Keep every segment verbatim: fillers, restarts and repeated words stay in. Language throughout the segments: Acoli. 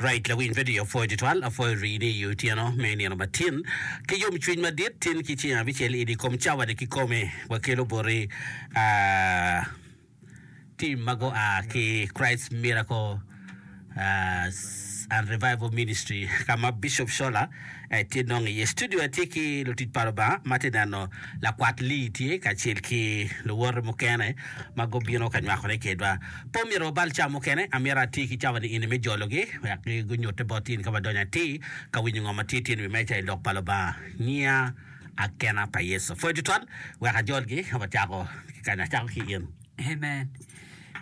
Right, lawiny radio apwoyo tutwal, apwoyo rini i otyeno me nino matin ki yomcwiny madit tin ki ceng abicel i kom cawa-ni kikome wakelo boti ah, tim ma gua ki Christ Miracle ah, and Revival Ministry ka ma Bishop Shola eh, tye nongo iye. Studio atye ki lutic pa Lubanga ma tye neno lakwat Lee tye kacel ki luwote mukene ma gubino ka nywakone kedwa. Pe omyero wabal cawa mukene, amyero ati ki cawa ni eni me jologi wek gunyutte bot in ka wadonyo atir ka winyo ngo ma tye tye i wi meja i lok pa Lubanga. Ngiya akena pa Yecu. Pwoyo tutwal wek ajolgi ka wacako ki kany. Acako ki in. Amen.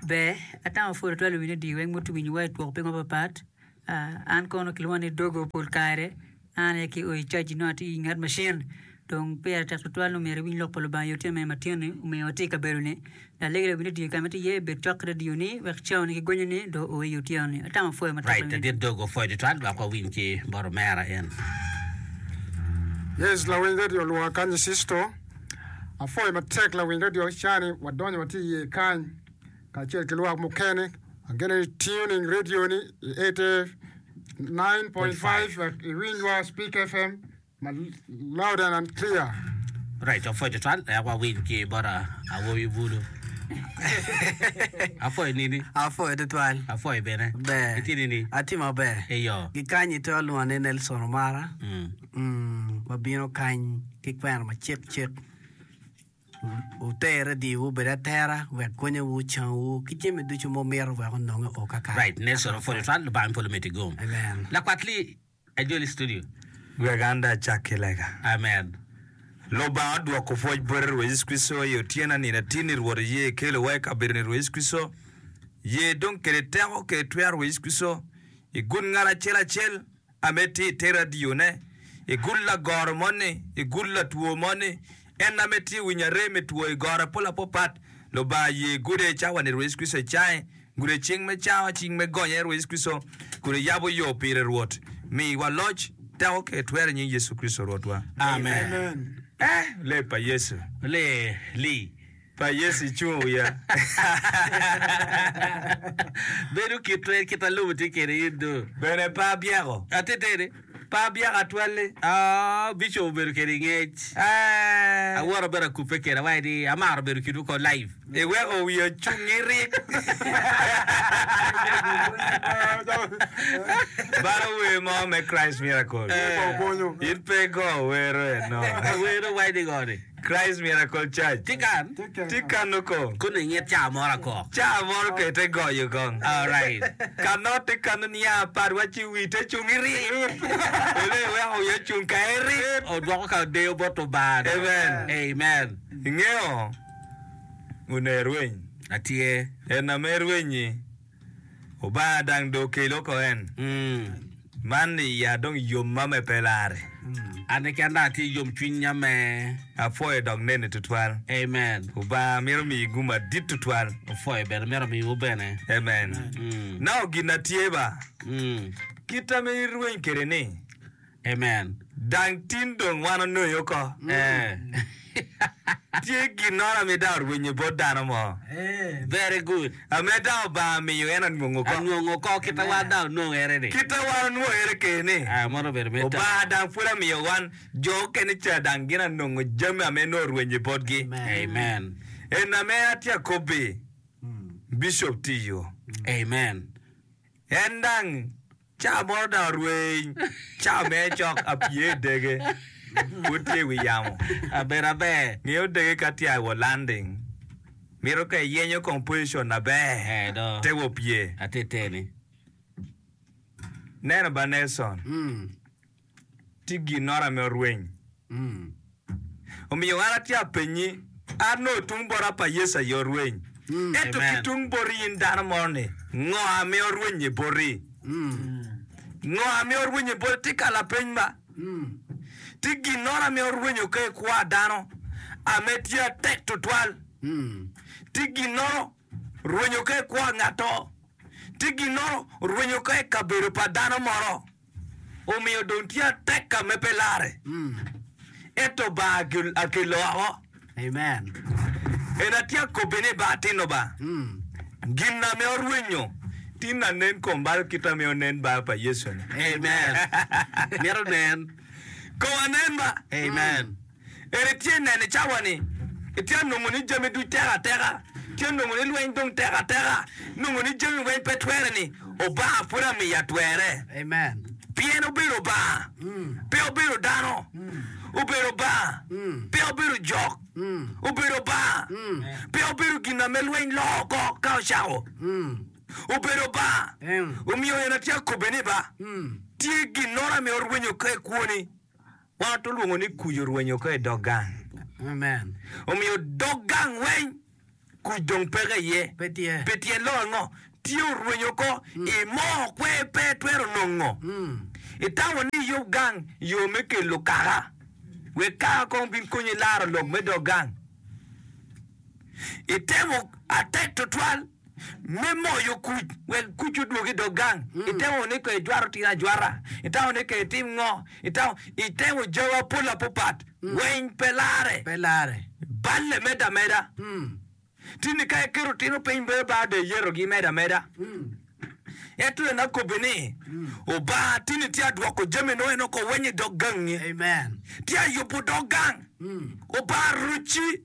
Ber, atamo pwod atwalo winyo di weng mutu winyo wa i twok piny mapapat. Ah, an kono kilwonga ni Dogo pol kare. An aye ki oyo i caji nongo atye i nget macin. Dong pire tek tutwal ni omyero iwiny lok pa Lubanga i otyeno me matin-ni omiyo watye i kabedo-ni. Lalegi lawiny radio ka ma itye iye bed cok ki radio-ni wek cawani ki gonyo-ni dong oo i otyeno-ni. Atamo apwoyo matek Right, lawiny. ladit Dogo opwoyo tutwal wek wawiny ki bot omera en. Yes, lawiny radio olwonga kany i Sisto. Apwoyo matek lawiny radio cani wadonyo watye iye kany kacel ki lwak mukene. Ageno ni tuning radio ni i eighty nine point five wek iwinywa Speak FM ma loud and clear. Right, apwoyo tutwal wek wawiny ki bot awobi bulu. Apwoyo nini? Apwoyo tutwal. Apwoyo bene. Ber. Itye nini? Atye maber. Eyo. Gikany itwero lwonga ni Nelson Omara. Mm. Mm, wabino kany ki kwena macek cek. Wuter radiwu obed atera wek gonyowu, cangwu, ki jami ducu ma wumito wek ononge o kakare. Right, Nelson opwoyo tutwal, Lubanga me polo omeddi gum. Amen. Lakwat Lee, ajoli i studio. Wek an dong acak ki lega. Amen. Lubanga odwoko pwoc bote Rwot Yecu Kricito i otyeno nino atin-ni Rwot oye ikelowa i kabedo-ni Rwot Yecu Kricito ye dong kede teko kede twero Rwot Yecu Kricito i gud ngat acel acel ame tye i te radione, i gud lagoro moni, i gud latwo moni, en ame tye winyo arem i two i goro apol apopat, Lubanga ye gude i cawa-ni Rwot Yecu Kricito icange, gude cing me cango, cing me gonye Rwot Yecu Kricito, kun iyabo yo pire Rwot. Miwa loc, teko ki twero i nying Yecu Kricito Rwotwa. Amen. Eh, lee pa Yecu. Lee li. Pa Yecu icung wiya. Bedo kit twer kit a lobo tye kede in do. Bene pe abyeko. Ateteni. Pe abyeko atwalli. Ah, Bishop obedo kede ngec. Eh. Awoto bene akubbe kede awaci ni amaro bedo kinwu ko live. Iweko wiya ocung irik. Balo wer mo me Christ Miracle. In pe igo wero eno. Wero waci ni ngo ni? Christ Miracle Church. Tye kan? Tye kanu ko. Kono inget caa moro akok. Caa moro ke te goyo kong. Alright. Kano te kanu niya apar wa ci wi te cung irik. Ene iweko wiya ocung ka irik. Odwoko ka odeyo bot Lubanga. Amen. Amen. Ingeyo one rweny. Atye. En ame rwenyi. Obanga dang do okelo oko en. Man iya dong yomma me pe lare. An keken dong atye yomcwinya me. Apwoyo dok neni tutwal. Amen. Obanga mito miyi gum madit tutwal. Opwoyo bene mito miwu bene. Amen. Now gin na tye ba. Kita me irweny kede ni. Amen. Dang tin dong wan onongo oko. Eh. Tye ginnoro ame dang orwenyo bot dano mo. Very good. Ame dang Obanga miyo en anwongo oko. Anwongo oko kita wan dang onongo ere ni. Kita wan onwongo ere kede ni. Ah, mono obedo me Obanga dang pud amiyo wan jo okene ca dang gin anongo jami ame nongo orwenyo botgi. Amen. En ame atye akobbi, Bishop tiyo. Amen. En dang Ca moro dong arweny, ca me cok apye i dege, pud tye i wi yamo. Abedo aber. Ngeyo dege ka tye i landing, mito ka iyenyo kong position aber, Eh, do. te wa opye. Ateteni. Neno ba Nelson, tye ginnoro ame orweny. Omiyo an atye apenyi, an nongo tung bota pa Yecu aye orweny, ento ki tung boti in dano mono ni, ngo ame orwenye boti? Ngo ame orwenye boti? Tye ka lapeny ba? Tye ginnoro ame orwenyo ka i kwo a dano ame tye atek tutwal? Tye ginnoro rwenyo ka i kwo a ngato? Tye ginnoro rwenyo ka i kabedo pa dano moro? Omiyo dong tye atek ka me pe larre, ento Obanga akelo oko. Tin anen kom bal kita me onen bal pa Yecu ni. Amen. Mito nen. Kom anen ba. Amen. En itye neno i cawa ni itye nongo ni jami duc tek ateka, tye nongo ni lweny dong tek ateka, nongo ni jami weny pe twere ni Obanga pud amiya twere. Amen. Pien obedo Obanga, pe obedo dano, obedo Obanga, pe obedo jok, obedo Obanga, pe obedo gin na me lweny loko oko ka ocako. Obedo Obanga. Omiyo en atye akobbe ni ba, tye ginnoro ame orwenyo ka i kwoni. Wan to lwongo ni kuc orwenyo ka i dog gang. Amen. Omiyo dog gang weng kuc dong peke iye. Pe tye. Pi tyen lok ango? Tye orwenyo oko i moo kwer pe itwero nongo. Itamo ni iyub gang yo me kelo kaka. Wek kaka kong bin konyi laro lok me dog gang. Itemo atek tutwal me moyo kuc wek kuc odwog i dog gang. Itemo ni ka ijwato tino ajwata, itamo ni ka itim ngo, itamo, itemo jawa apol apopat, weng pe lare. Pe lare. Balle medde ameda. Tini ka iketo tino piny bedo bar dong iyetogi medo ameda. Ento en akobbi ni, Obanga tini tye adwoko jami nongo en oko weng i dog gangi. Amen. Tye ayubo dog gang. Obanga rucci.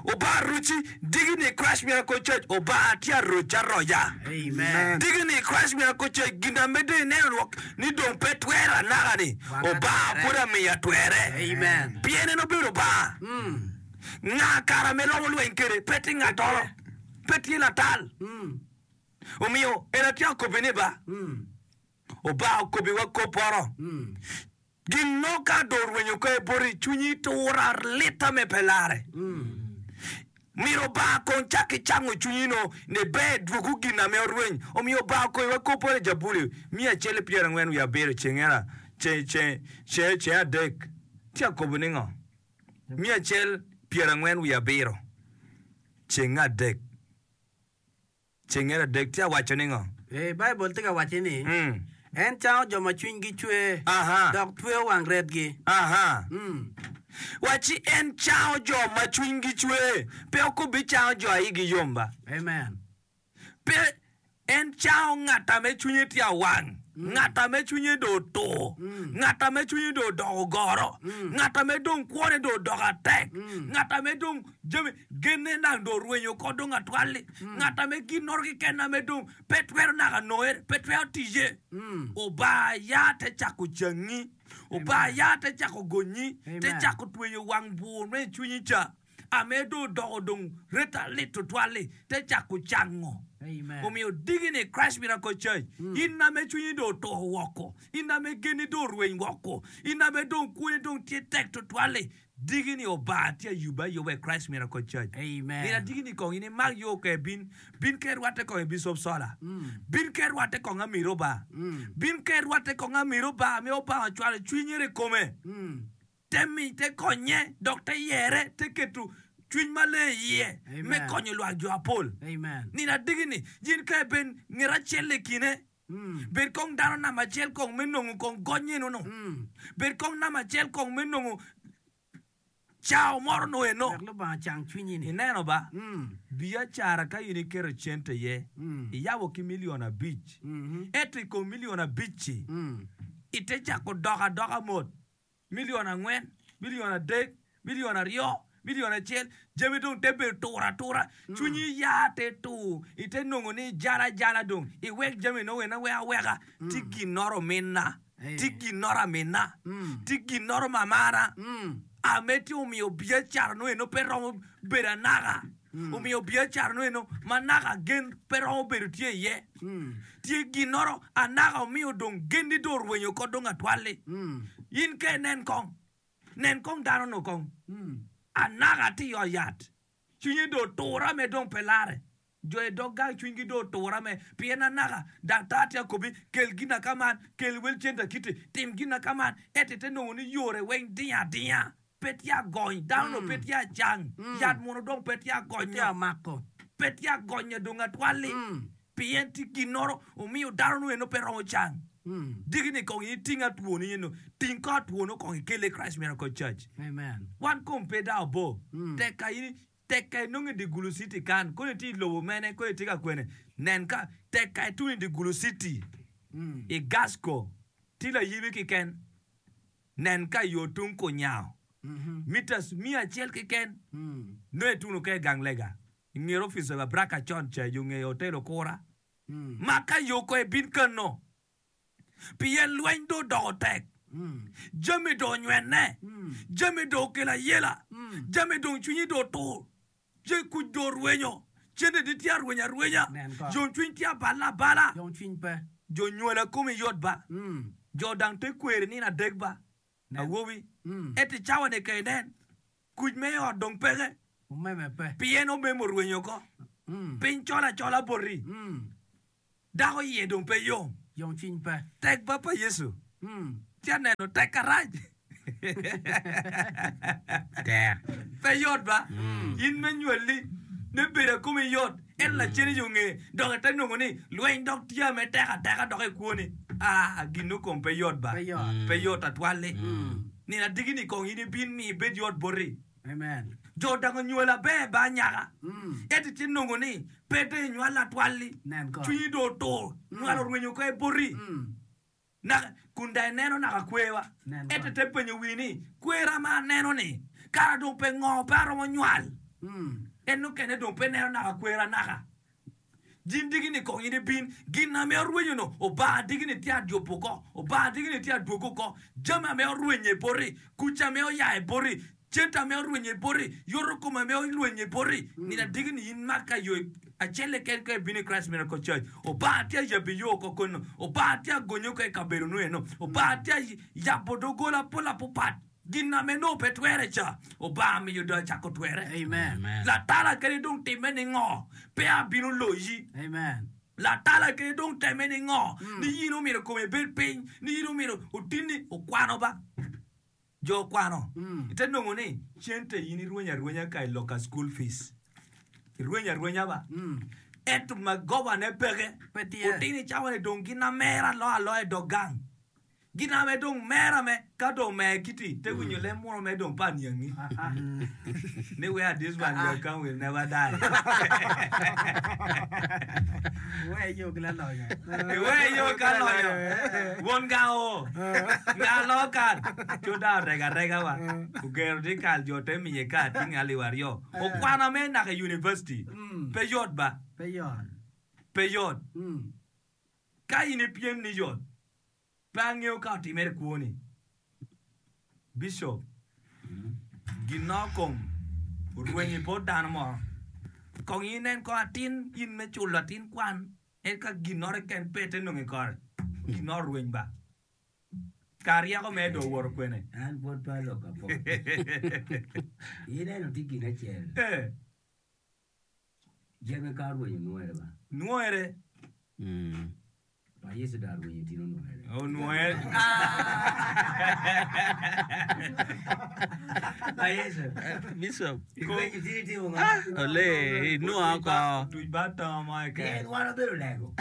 Obanga rucci. Digi ni Christ Miracle Church, Obanga tye aroc aroca. Amen. Digi ni Christ Miracle Church, gin a medde ineno lwak ni dong pe twere anaka ni, Wanga Obanga twere. pud amiya twere. Amen. Pien en obedo Obanga. Nga kara me romo lweny kwede? Pe tye ngatoro, pe tye latal. Omiyo en atye akobbi ni ba, Obanga okobbiwa kop poto. Gin mo ka dong orwenyo ka iboti, cwinyi tura litta me pe lare. Myero Obanga kong cak ki cango cwinyi no ni ber dwogo gin ame orweny. Omiyo Obanga okoyiwa kop poto i Jabuli miya acel ki pyerangwen wiye abiro ceng ceng adek. Tye akobo ni ngo? Miya acel pyerangwen wiye abiro ceng adek. Ceng adek tye awaco ni ngo? Ee, Baibul tye ka wacci ni, Mm. En cango jo ma cwinygi cwer, Aha. dok tweyo wang retgi. Aha. Mm. Wacci en cango jo ma cwinygi cwer, pe okobbi cango jo a igi yom ba. Amen. Pe en cango ngat ame cwinye tye awang, ngat ame cwinye dong otur, ngat ame cwinye dong odoko goro, ngat ame dong kwone dong odoko atek, ngat ame dong jami genne nang dong orwenyo oko dong atwal-li, ngat ame ginnoro keken ame dong pe twero naka nonge, pe twero ticce. Obanga ya te cako cangi, Obanga ya te cako gonyi, te Amen. cako tweyo wang bur me i cwinyi ca ame dong odoko dong reta lit tutwal-li, te cako cango. Amen. Omiyo digi ni Christ Miracle Church, in ame cwinyi dong otur woko, in ame genni dong orweny woko, in ame dong kwoni dong tye tek tutwal-li, digi ni Obanga tye ayubbe ayuba i Christ Miracle Church. Amen. Nino adigi ni kong in imak yo ke bin, bin ke rwatte kong i Bishop Sola, bin ke rwatte kong amiro ba, bin ke rwatte kong amiro ba ame Obanga ocwalo cwinye i kome. Te mi, te konye, dok te yere, te keto cwiny maleng i iye me Amen. konyo lwak jo apol. Amen. Nino adigi ni, in ka ibed nget acel i kine, bed kong dano namba acel kong me nongo kong gony eno-nu. Bed kong namba acel kong me nongo cao moro no eno. Wek Lubanga cang cwinyi ni. Ineno ba, Mm. biacara ka in iketo cente iye, Mm. iyabo ki milion abic. Mhm. Ento i kom milion abic-ci, Mm. ite cako dok adoka mot. Milion angwen, milion adek, milion aryo, milion acel, jami dong te bedo tur atura. Cwinyi ya te tur, ite nongo ni ijalo ajala dong, iwek jami nongo en aweka aweka. Ti ginnoro minna, ti ginnoro aminna, ti ginnoro mamana. Ame tye omiyo biacara nongo eno pe romo bedo anaka. Omiyo biacara nongo eno ma naka gen pe romo bedo tye iye. Tye ginnoro anaka omiyo dong genni dong orwenyo oko dong atwal-li. In ka inen kong, nen kong dano-nu kong. Anaka tye i ot yat, cwinye dong otura me dong pe lare. Jo i dog gang cwinygi dong otura me pien anaka daktar tye akobi kel gin ka man, kel wel cente kiti, tim gin ka man, ento ite nongo ni yore weng dingo adinga, pe tye agony, dano-nu pe tye acang, yat munu dong pe tye Tye agonyo, amako. pe tye agonyo dong atwal-li, pien tye ginnoro omiyo dano-nu eno pe romo cang. Digi ni kong in iting atwoni eno, ting kong atwono kong ikele i Christ Miracle Church. Amen. Wan kom pe dao bor, tek ka in Tek ka inongo i dye Gulu City kan, kono itye i lobo mene, kono itye ka kwene, nen ka tek ka ituno i dye Gulu City, i Gasco, tye layibi keken, nen ka yo tung kunyango, meters miya acel keken, nongo ituno ka i gang lega, i nget opic pa Braka con ca, yo nge hotel Okura. Mak ka yo ko ibin kano. Pien lweny dong odoko tek, jami dong onywenne, jami dong okelo ayela, jami dong cwinyi dong otur, ce kuc dong orwenyo, cente tye arwenya arwenya, yomcwiny tye abala abala, jo nywala komi yot ba, jo dang te kweri nino adek ba, awobi, ento i cawa-ni ka inen, kuc me i ot dong peke, pien omemo orwenyo oko, piny col acola boti. Dako iye dong pe yom. Yomcwiny pe. Tek ba pa Yecu. Tye aneno tek karac. Tek. Pe yot ba. In me nywali me bedo akomi yot, ento lacen i yo nge dok ite nongo ni lweny dok tye me tek ateka dok i kwoni. Ah, gin nongo kom pe yot ba. Pe yot. Pe yot atwal-li. Nino adiki-ni kong in ibin mi ibed yot boti. Amen. Jo dok onywalo aber ba anyaka, ento itye nongo ni pe dong inywal atwal-li, Nen kong. cwinyi dong otur, nywal orwenyo oko i boti. Naka, kun dong ineno naka kwerwa, Nen ento kong. ite penyo wii ni, 'Kwera ma aneno-ni, kara dong pe ngo, pe aromo nywal? En mukene dong pe neno naka kwera naka. Jin digi-ni kong in ibin, gin ame orwenyo-nu, Obanga digi-ni tye adyubo oko, Obanga digi-ni tye adwogo oko, jami ame orwenye boti, kuc ame oyaye boti, cente ame orwenye boti, yoto kom ame olwenye boti, nino adigi-ni in mak ka yo acel keken ka ibino i Christ Miracle Church, Obanga tye ayabi yo oko kono, Obanga tye agonyi oko i kabedo-nu eno, Obanga tye ayabo doggola pol apupat. Gin ame nongo pe twere ca, Obanga miyo dong acako twere. Amen. Latala kadi dong timme ni ngo, pe abino loyi. Amen. Latala kadi dong temme ni ngo, ni in omyero kome ibed piny, ni in omyero otinni okwano ba. Jo okwano, ite nongo ni cente in irwenyo arwenya ka i loka school fees. Irwenyo arwenya ba. Ento magobane peke. Pe tye. Otini cawa ni dong gin amera aloyo aloya i dog gang. Gin ame dong mera me ka dong omer kiti te winyo lem muno me dong pa niangi ni where this one will come will never die. Iwe yo ki lalonyo. Iwe yo ka lonyo. Won ga o. Nga lo kal. Co da orego arega wa. Ogero di kal jo te miye ka ating alip aryo. Okwana me naka i university. Pe yot ba. Pe yot. Pe yot. Ka in ipyem ni yot. Pe angeyo ka otimere i kwoni. Bishop, ginno kom orwenyo i bot dano mo. Kong inen kong atin in me culo atin kwan en ka ginnore keken pe ite nongo i kore. Ginnoro orweny ba. Kar ryeko mere dong owoto kwene. An pwod pe aloko apok. Ineno tye gin acel. Eh. Jami ka orwenyo nwere ba. Nwere. Pa Yecu dong arwenyo tino onwere. Onwere. Pa Yecu. Bishop. Irwenyo tino itimo ngo? Ole, inwongo oko. Tuc ba to mo keken. Pien wan wabedo lego.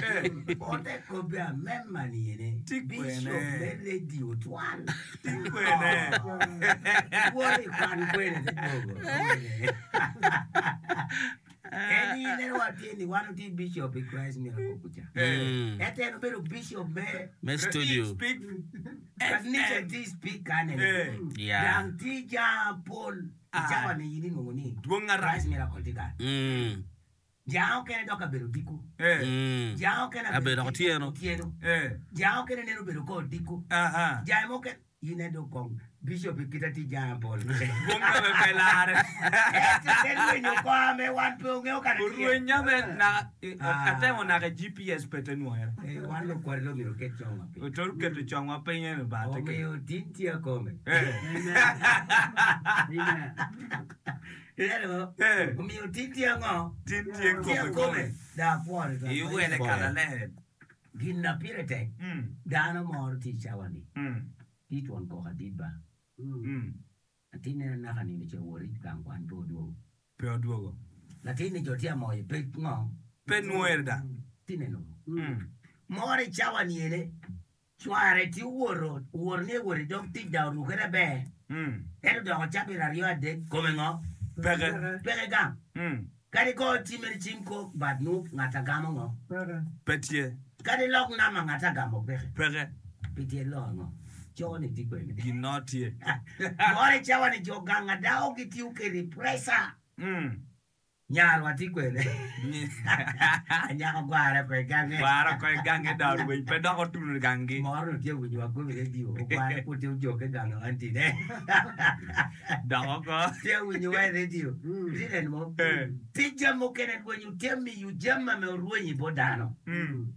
Ote kobbe amema ni ene. Ti kwene. Bishop me radio twal. Ti kwene. Iwoto i kwan kwene te dwogo. En in en wa tye ni wan otye bishop i Christ Miracle kuca. Ento en obedo bishop me Me studio. Speak Kanica F M. tye speak kane. Eh. Yeah. Gang tye jang pol. I Ah. cawa ni in inwongo ni Dwong arac. Christ Miracle tye kany. Mm. Jang okene dok kabedo odiko. Eh. Mm. Jang okene Abedo dok otyeno. otyeno. Eh. Jang okene neno obedo ko odiko. Aha. Jang mukene in en dong kong bishop i kita tye jang pol. Dwong me pe lare. Ento te rwenyo kor me wan pe ongeyo kare tye. Orwenya me naka Ah. atemo naka G P S pe te nwere. Eh, wan lukwari dong myero oket congwa piny. Otor keto congwa piny eno bate ke. Omiyo tin tye akome. Eh. Amen. Ineno? Eh. Omiyo tin tye ango? Tin tye Tye kome akome. kome. Da apwore twal. Iwele kala ler. Gin na pire tek. Mm. Dano moro tye i cawa ni. Mm. Tye twon koko adit ba. Mm. Latin neno naka nino ce owot i gang kwan pe odwogo. Pe odwogo. Latin ni jo tye amoyo pe ngo? Pe nwere da. Tye neno. Mm. Moro i cawa ni ene, cware tye owoto, owoto ni ewot i dog tic da orukere ber. Mm. Ento doko cabit aryo adek, kome ngo? Peke. Peke gang. Mm. Kadi go cim cim ko bad nu ngata gamo ngo. Pe tye. Kadi lok nama ngata gamo peke. Peke. Pi tyen lok ango? Co ni tye kwene. Gin no tye. More cawa ni jo gang adao gitiyo kede pressure. Mm. Nyarwa tye kwene. Anyako gware ko i gange. Gwara ko i gange da orweny pe dok otuno gangi. Moro no tye winyo wa gomi radio. Ogware pud tye ojoke gang antine. Dok oko. Tye winyo wa i radio. Tye neno mo. Eh. Tye jami mukene rwenyo tye miyo jami ame orwenyo i bot dano. Mm.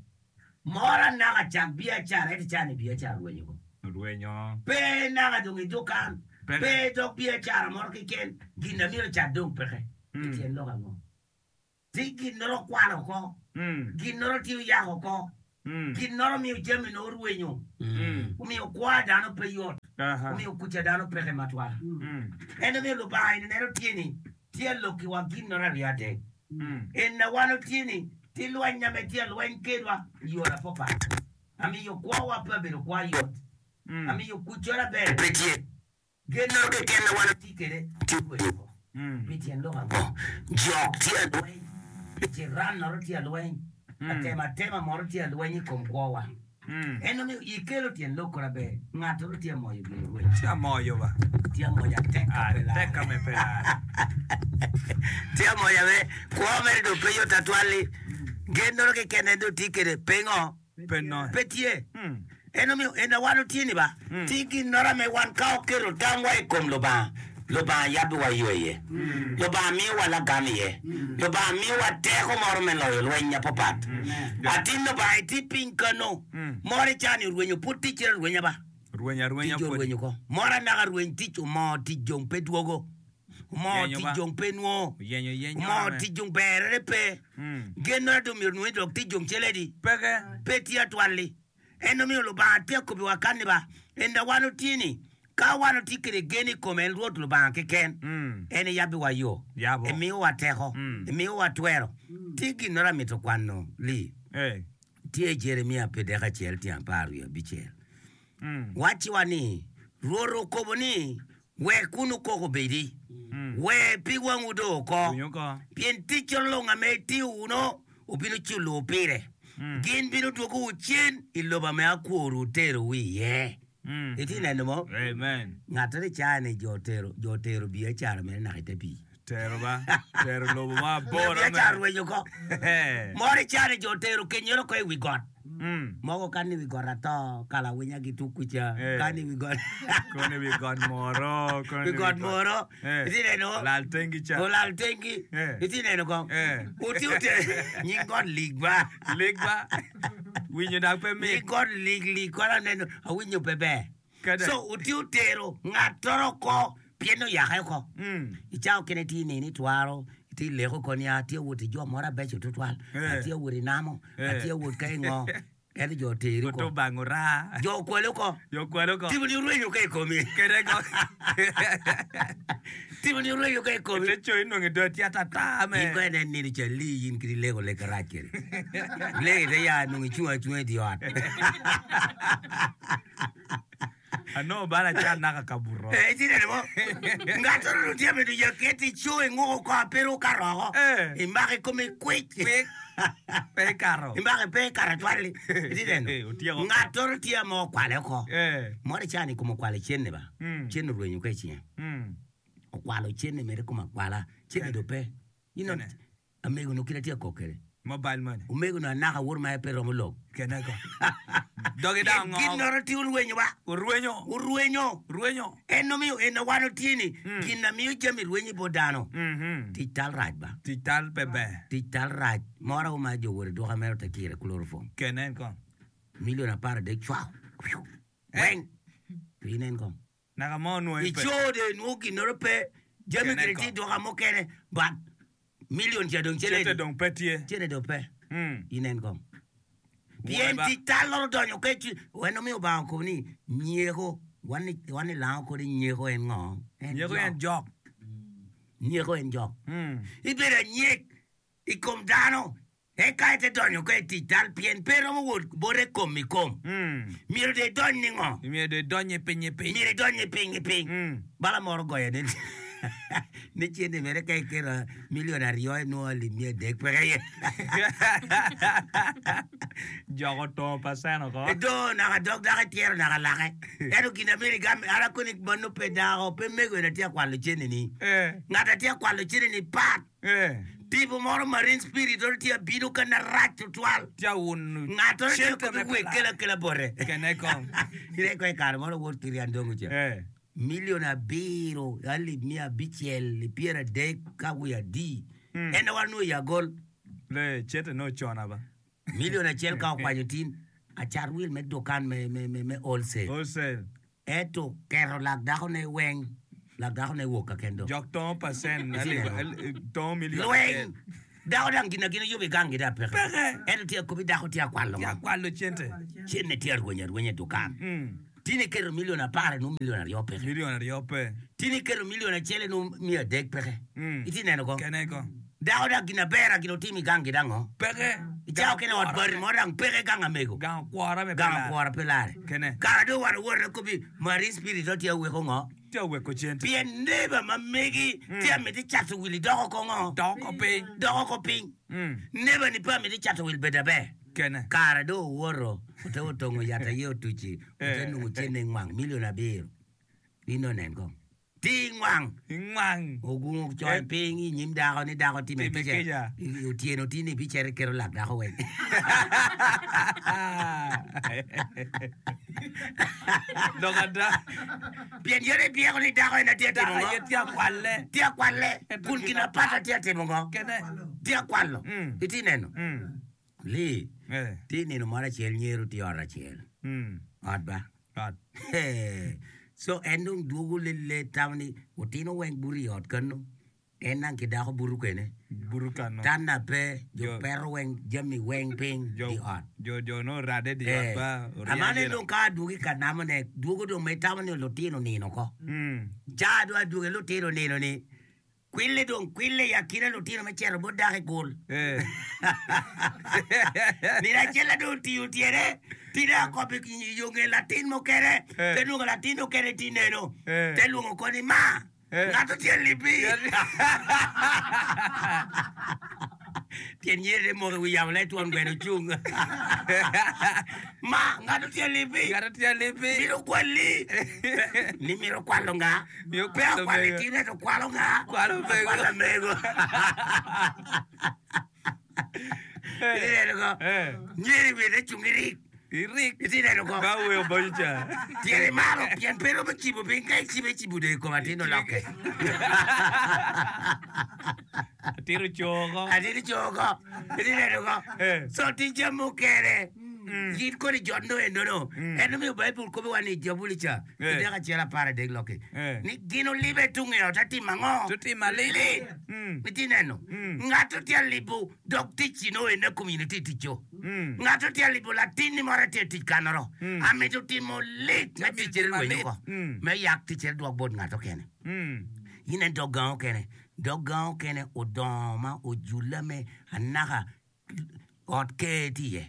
Moro anaka cak biacara ento cani biacara orwenyo ko. Orwenyo. Pe naka dong i dukan. Peke. Pe dok biacara moro keken. Gin na myero cat dong peke. Mm. Tyen lok ango? Ti gin noro kwalo oko. Mm. Gin noro tiyo yako oko. Mm. Gin noro miyo jami no orwenyo. Mm. Omiyo kwa dano pe yot. Aha. Omiyo kuca dano peke matwal. Mm. En omiyo Lubanga eni neno tye ni tye lok i wa gin noro aryo adek. Mm. En na wan otye ni tye lweny ame tye lweny kedwa i yo apapat. Amiyo kwowa pe obedo kwa yot. Mm. Amiyo kucora ber pe tye. Gen noro keken na wan otye kede tye rwenyo oko. Mm. Pi tyen lok ango? Jok tye alweny. Ciran noro tye alweny. Mm. Atema atema moro tye alweny i kom kwowa. Mm. En omiyo ikelo tyen lok kora ber. Ng'ato ro tye amoyo gin orweny. Tye amoyo ba. Tye amoyo atek ka Ah, pe lar. tek ka me pe lar. Tye amoyo ame kwo mere dong pe yot atwal-li. Gen noro keken en dong tye kede pe ngo? Pe no. Pe tye. Mm. En omiyo en a wan otye ni ba. Mm. Tye gin noro ame wan ka oketo tamwa i kom Lubanga. Lubanga yabiwa yo iye. Lubanga miyowa lagam iye. Lubanga miyowa teko moro me loyo lweny apapat. Atin Lubanga itye piny kano. Mm. Moro icani orwenyo pud tic cito rwenya ba. Rweny arwenya Tic pwod. orwenyo ko. Moro anaka rweny tic omoo tic jong pe dwogo. Omoo Yenyo tic ba. jong pe nwo. Yenyo yenyo. Omoo ame. tic jong berere pe. Mm. Gen noro dong myero nwenyo dok tic jong celedi. Peke. Pe tye atwal-li. En omiyo Lubanga tye akobi wa kan ni ba. En da wan otye ni ka wan otye kede gen i kome en Rwot Lubanga keken. Mm. En iyabiwa yo. Yabo. Imiyowa teko. Mm. Imiyowa twero. Tye gin noro amito kwano li. Eh. Tye Jeremia pierdek acel tyen apar wiye abicel. Mm. Wacciwa ni Rwot okobo ni wek kun okoko bedi. Mm. We pig wangwu do oko. Winyo ko. Pien tic olong ame itiyo wuno obino culo pire. Mm. Gin bino dwogowu cen i lobo ame akworu oterowu iye. Mm. Iti neno mo? Amen. Ng'ato ni cani jo otero jo otero biacara mere naka ite pii. Tero ba. Tero lobo ma bor Biacara ame. rwenyo ko. Eh. Moro icani jo otero kenyoro ko i wi got. Mm. Mogo kan ni wi got ato kala winya gitu kuca Eh. kan ni wi got. Koni wi got moro. Koni wi got moro. Eh. Iti neno. Lal tengi cha. Olal tengi. Eh. Iti neno ko. Eh. Uti ute nying got lig ba. Lig ba. Winyo dak pe Nying mit. got lig lig kora neno awinyo pe ber. Kede. So uti otero ng'atoro ko pien oyake ko. Mm. Icao kene ti nini twaro ti leko ko ni atye wot i jo moro abeco tutwal Eh. atye wot i namo Eh. atye wot ka i ngo ento jo oteri Oto ko bango ra. jo okwalo ko Jo kwalo ko. tipo ni orwenyo ka i komi Kede ko. tipo ni orwenyo ka i komi Te choi nonge do tia tata me. in ko enen nino ca lii in kidi leko lek arac kede leko ite ya nongo icung acunga i di ot Ano bara cha naka kaburo. Eh, iti neno mo ngato no tye bedo ya keti ico inguko ko apiro ka roko Eh. imako i kome kwic Kwik. Pe karo. imako pe karo twal-li iti neno Eh, otyeko. ngatoro tye ma okwale oko Eh. moro icani kome okwalo cene ba Mm. cene orwenyo ka i cinge Mm. okwalo cene mere kome akwala cene do pe ino Kene. amego no kite tye akok kede Mobile money. omego no anaka wor ma pe romo lok Kene ko. Dogi da gin ngo. noro tye orwenyo ba Urwenyo. orwenyo Urwenyo. en omiyo en wan otye ni Mm. gin na miyo jami rwenyo bot dano Mhm. tic tal rac ba Tic tal pe ber. tic tal rac moro ma jo wor duka mere te kire chloroform Kenen ko. milion apar adek cwao Eh. weng inen kong Naka mo nwo ipe. ico de nwo ginoro pe jami Kenen kede ko. tye duka mukene but milion ca dong Cete cene dong pe tye. cene dong pe Mm. inen kong pien Wuoe ba. tic tal loro donyo ke ci wen omiyo Obanga okobo ni nyeko wan ni wan ni lango kodi nyeko en ngo En Nyeko jok. en jok. nyeko en jok Mm. ibedo anyek i kom dano eka ite donyo ka i tic tal pien pe romo wot bote kom i kom Mm. myero de idony ni ngo Myero de donye piny i piny. myero idony i piny i piny Mm. bala moro goyo ne Ni cente mere ka iketo milion aryo inongo alip miya adek peke iye. Joko tongo percent oko. Do naka dog dako ityero naka lake. Ento gin amyero igam an akoni ma nongo pe dako pe mego en atye ka kwalo cente ni. Eh. Ngat atye ka kwalo cente ni pat. Eh. Tipo moro marine spirit oro tye abino ka narac tutwal. Tye awuno Ngat oro tye cente kobi me wek pe kelo lare. akela bote. Kene kong. Ine ko i kare moro wot ki Rian Dongo ca. Eh. Milion abiro alip miya abicel i pyeradek ka wiye adi. Mm. En aye wanongo i agol. Le cente ne ocona ba. Milion acel ka okwanyo tin acat wil me dukan me, me, me, me wholesale. Wholesale. Ento keto lak dakone weng, lak dakone wok ka ken dong. Jok tongo percent Itye alip, neno? al- tongo milion Lweny! acel. Dako dang gin na gin oyubo i gangi dong peke. Peke. Ento tye akobi dako tye akwalo Tye ngo? akwalo cente. Cente tye arwenyo arwenya i dukan. Mm. Tin iketo milion apar inongo milion aryo peke. Milion aryo pe. Tin iketo milion acel inongo miya adek peke. Mm. Itye neno ko? Kene ko. Dako dang gin aber gin otimo i gangi dang ngo? Peke. Icao kene ot bati mo dang peke gang amego. Gang okwora me pe Gang lare. okwora pe lare. Kene. Kara dong wan owoto akobi marine spirit o tye aweko ngo? Tye aweko cente. Pien neighbor ma megi tye amiti cato wil idoko ko ngo? Doko piny. Doko ko piny. Mm. Neighbor ni pe amiti cato wil bedo aber. Kene. Kara dong owoto ote otongo yat aye otuci ote Eh. nongo cente ngwang milion abiro. Ino nen kong. Ti ngwang. Ingwang. Ogungo coyo piny i nyim dako ni dako time Time kica. kica. I- Otyeno tini bicito iketo lak dako weng. Lok ada. Pien yene ibyeko ni dako en atye timo Dako ngo? aye tye akwale. Tye akwale. Kun gin apata tye atimo ngo? Kene. Tye akwalo. Mm. Itye neno? Mm. Li, Eh. tye nino moro acel nyero tye ot acel. Mm. Ot ba. Ot. So en dong dwogo lele tamo ni otino weng buto i ot kano. En nang ki dako buto kene. Buto kano. Tanna pe, jo Jo- pero weng jami weng piny Jo di ot. jo jo no rade di Eh, ot ba. amane dong ka adwogi ka namone, dwogo dong me tamo ni lutino nino ko. Mm. Ca dong adwogi lutino nino ni, kwille dong kwille i akina lutino me cito bot dako i gul. Eh. Nino acel dong otiyo tyene, tine akobo i yo nge latin mukene, Eh. te lwongo latin mukene ti neno, Eh. te lwongo koni ma, Eh. ngato tye libi. Tyen nyere moko i wi yamo le twon gweno ocung. Ma, ngato tye libi. Ngato tye libi. Mito kwali. Ni mito kwalo nga. Mito Pe kwalo akwalo mego. itine to kwalo nga. Kwalo mego. Akwalo mego. Iti neno ko. Eh. Nyeri wiye te cung irik. Irik. Iti neno ko. Ba weyo bojo cha. Tyene malo pien pe romo cibo piny ka icibe icibo dong i kom atin olokke. Atiro coko. Atin coko. Iti neno ko. Eh. So tic jami mukene. Gin kodi jot no eno no. En omiyo Baibul kobo wa ni Jabuli ca. Eh. Idek acel apar adek loki. Eh. Ni gin olibe tung i ot atimo ango? Tutimo alit. Lit. Mm. Iti neno. Mm. Ngato tye alibo dok ticci no ene community ticco. Mm. Ngato tye alibo latinni moro tye tic kanoro. Mm. Amito timo lit me ticcere timo rwenyo lit. ko. Mm. Me yak ticcere dwok bot ngato kene. Mm. In en dog gang okene. Dog gang okene odongo ma ojulle me anaka ot ker tye iye.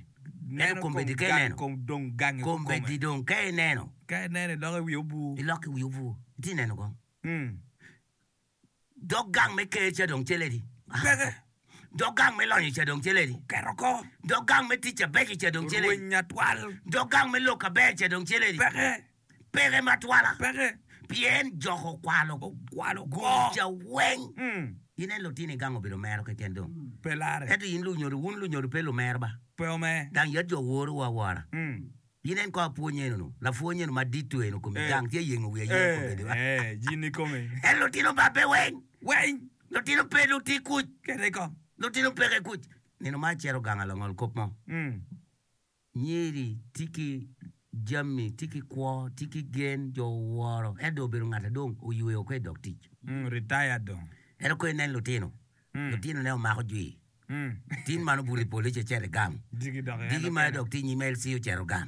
Ento Neno kombeddi kom ka gang- ineno. kom dong gangi Kombeddi dong ka ineno. Ka ineno iloko i wi obu. Iloko i wi obu. Iti neno kong. Mm. Dog gang me ker ca dong celedi. Peke. Dog gang me lonyo ca dong celedi. Keto ko. Dog gang me tic abeco ca dong celedi. Rweny atwal. Dog gang me lok aber ca dong celedi. Peke. Peke matwala. Peke. Pien joko okwalo. Okwalo Gum ko. ca weng. Mm. In en lutino i gang obedo mero keken dong. Pe lare. Ento in lunyodo, wun lunyodo pe lumero ba. Pe ome. Dang yat jo woro wa wora. Mm. In en ko apwony eno no. Lapwony eno madit eno komi Eh. gang tye yengo wiye ayenga Eh. kombeddi ba. Eh. Jini kome. En lutino babbe weng. Weng. Lutino pe luti kuc. Kete ko. Lutino peke kuc. Nino ma acito gang alongol kop mo. Mm. Nyeri tye ki jami, tye ki kwo, tye ki gen, jo woro. En dong obedo ngat dong oyweyo ko i dog tic. Mm. Retired dong. Ento ko inen lutino. Mm. Lutino ne omako jwi. Mm. Tin man obuto i police ocito i gang. Digi dok en Digi ma okene. dok tye nyim L C ocito gang.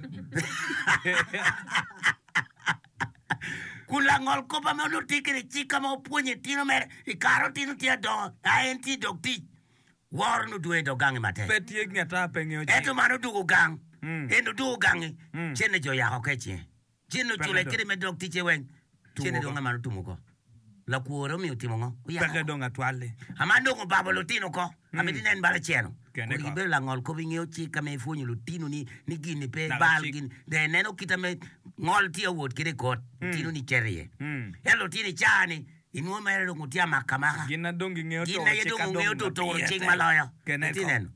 Kun langol kop ame onongo tye kede cik ka ma opwonyo itino mere i kare otino tye adongo a en tye i dog tic. Woro nodwogo i dog gangi matek. Pe tye ngeta pe ngeo cik. Ento man odwogo gang. Mm. En odwogo gangi. Mm. Cene jo yako ke cinge. Cene ocule dong. kede me dog ticce weng. Tumo Cene ko. dong aman otumo ko. Lakwor omiyo timo ngo? Oyako. Peke dong atwal-li. Aman dong obabo lutino oko. Amito inen bala ceno. Kene Kodi ko. gibedo langol kop ingeyo cik ka ma ipwonyo lutinoni ni gin-ni pe Naka bal cik. gin. Dong ineno kite me ngol tye awot kede i kot. Lutinoni cito iye. Mm. Ento lutino i caa-ni inwo mere dong otye amaka amaka. Gin na dong gingeyo Gin turo aye cik dong ka ongeyo dong turo pire cik tek. ma loyo. Kene Iti ko. neno.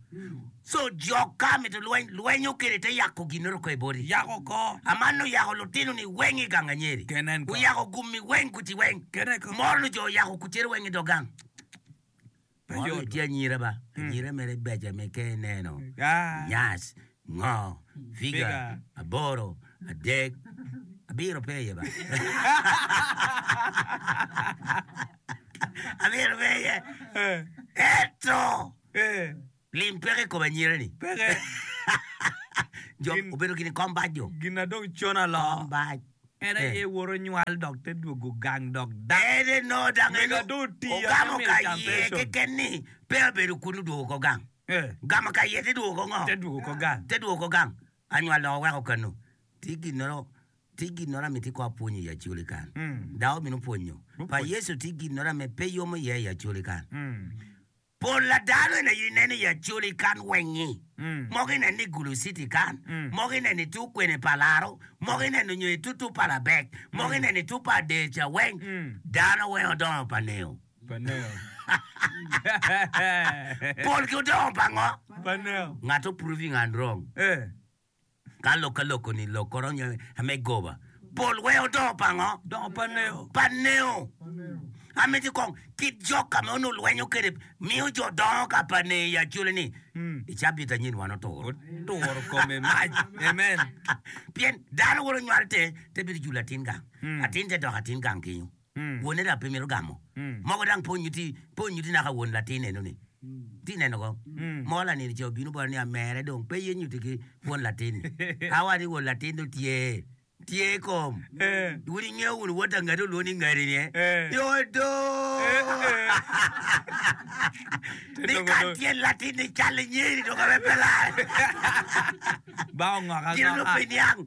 So jo ka mito lweny, lwenyo kede te yako ginoro ko i boti. Yako ko. Aman oyako lutino ni weng i gang anyeri. Kenen ko. Oyako gummi weng kuci weng. Kene ko. Moro ni jo oyako kucere weng i dog gang. Pe Moro yot. ni tye anyira ba. Anyira mere beca me ke ineno. Ah. Nyas, ngo, figa, Figa. aboro, adek, abiro pe iye ba. Abiro pe iye. Eh. Eto! Eh. Lim peke i kom anyira ni. Peke. Jo Gin- obedo gini kom bac jo. Gin na dong con alo. Kom bac. En Eh. aye woro nywal dok te dwogo gang dok dak. Ene no dang Mego eno dong otiyo ogamo ame ka miyo iye salvation. keken ni pe obedo kun odwogo ko gang. Eh. Gamo ka iye te dwogo ko ngo? Te dwogo ko gang. Te dwogo ko gang. Anywal dok oweko kanu. Ti ginoro ti ginoro ame ti ko apwonyo i Acholi kan. Mm. Dako bino pwonyo. Pa Opwonyo. Yecu ti ginoro ame pe yomo iye i Acholi kan. Mm. Pol la dano ene ineno i Acholi kan wengi. Mm. Mogo ineno i Gulu City kan, Mm. mogo ineno i tu kwene pa Laro, mogo ineno nyo i tutu pa Labek, mogo ineno i tu pa Adeca weng. Mm. Dano weng odongo pa neo. Paneo. Pol ki odongo pa ngo? Paneo. Ng'ato proving and wrong. Eh. Ka lok ka loko ni lok koro nyo ame goba. Pol weng odongo pa ngo? Dongo paneo. Pa neo. Amiti kong kit jok ka ma onongo lwenyo kede miyo jo dongo ka pa neo i Acholi ni. Mm. I cabit anyen wan oturo. Oturo kome mac. Amen. Pien dano woro nywal te te bedo julo atin gang. Mm. Atin te dok atin gang kinyo. Mm. Wone dok pe mito gamo. Mm. Mogo dang po nyuti po nyuti naka won latin eno ni. Ti neno ko. Mm. Mogo lanini ca obino bota ni amere dong pe ye nyuti ki won latin ni. Awa ni won latin dong tye. Tye kom. Eh. Wun ingeo wun wot angati olwongo ni ngati ni eh. Eh. Yo do. Eh, eh. Ni ka tyen latin ni cal nyeri dong abe pe lar. Ba ongok Gin onongo angoka. pe niang.